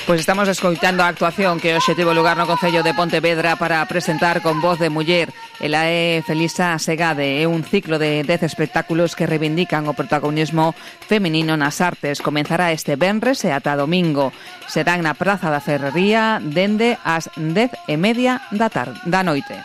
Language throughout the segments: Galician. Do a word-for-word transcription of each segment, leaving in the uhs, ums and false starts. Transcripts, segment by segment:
Pois estamos escoitando a actuación que hoxe tivo lugar no Concello de Pontevedra para presentar con voz de muller. Ela é Felisa Segade, é un ciclo de dez espectáculos que reivindican o protagonismo feminino nas artes. Comenzará este venres e ata domingo. Serán na Praza da Ferrería dende as dez e media da tarde, da noite.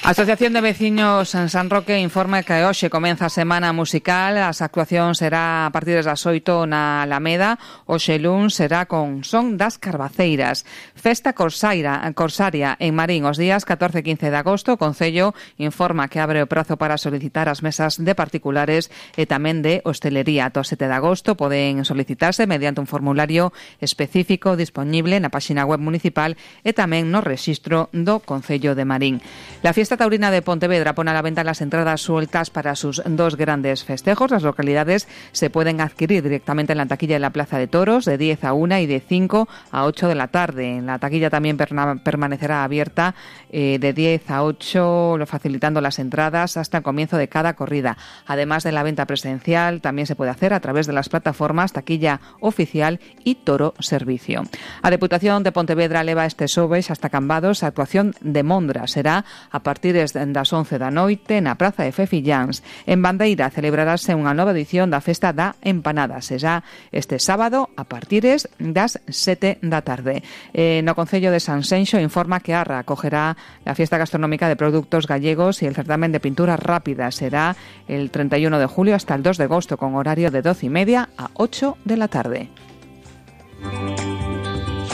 A Asociación de Veciños en San Roque informa que hoxe comeza a semana musical. As actuacións será a partir das oito na Alameda. Hoxe luns será con Son das Carbaceiras. Festa Corsaira, Corsaria en Marín os días catorce e quince de agosto. O Concello informa que abre o prazo para solicitar as mesas de particulares e tamén de hostelería. Ata o sete de agosto poden solicitarse mediante un formulario específico disponible na páxina web municipal e tamén no rexistro do Concello de Marín. La fiesta taurina de Pontevedra pone a la venta las entradas sueltas para sus dos grandes festejos. Las localidades se pueden adquirir directamente en la taquilla de la Plaza de Toros de diez a una y de cinco a ocho de la tarde. La taquilla también permanecerá abierta eh, de diez a ocho, facilitando las entradas hasta el comienzo de cada corrida. Además de la venta presencial, también se puede hacer a través de las plataformas Taquilla Oficial y Toro Servicio. A Deputación de Pontevedra leva este xoves hasta Cambados a actuación de Mondra. Será a partir das once da noite na Praza de Fefilláns. En Bandeira celebrarase unha nova edición da Festa da Empanada. Será este sábado a partir das sete da tarde. Eh, no Concello de Sanxenxo informa que Arra acogerá la fiesta gastronómica de productos gallegos y el certamen de pintura rápida. Será el treinta y uno de julio hasta el dos de agosto con horario de doce y media a ocho de la tarde.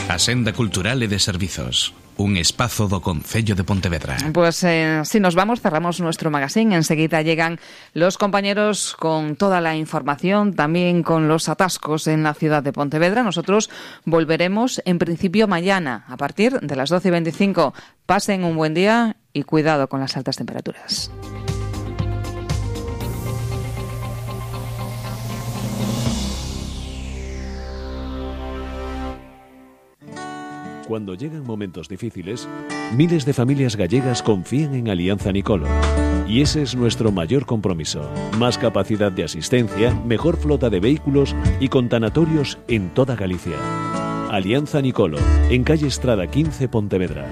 A Senda Cultural e de Servizos. Un espazo do Concello de Pontevedra. Pues eh, si nos vamos, cerramos nuestro magazine. Enseguida llegan los compañeros con toda la información, también con los atascos en la ciudad de Pontevedra. Nosotros volveremos en principio mañana a partir de las doce y veinticinco. Pasen un buen día y cuidado con las altas temperaturas. Cuando llegan momentos difíciles, miles de familias gallegas confían en Alianza Nicolo. Y ese es nuestro mayor compromiso. Más capacidad de asistencia, mejor flota de vehículos y con tanatorios en toda Galicia. Alianza Nicolo, en calle Estrada quince, Pontevedra.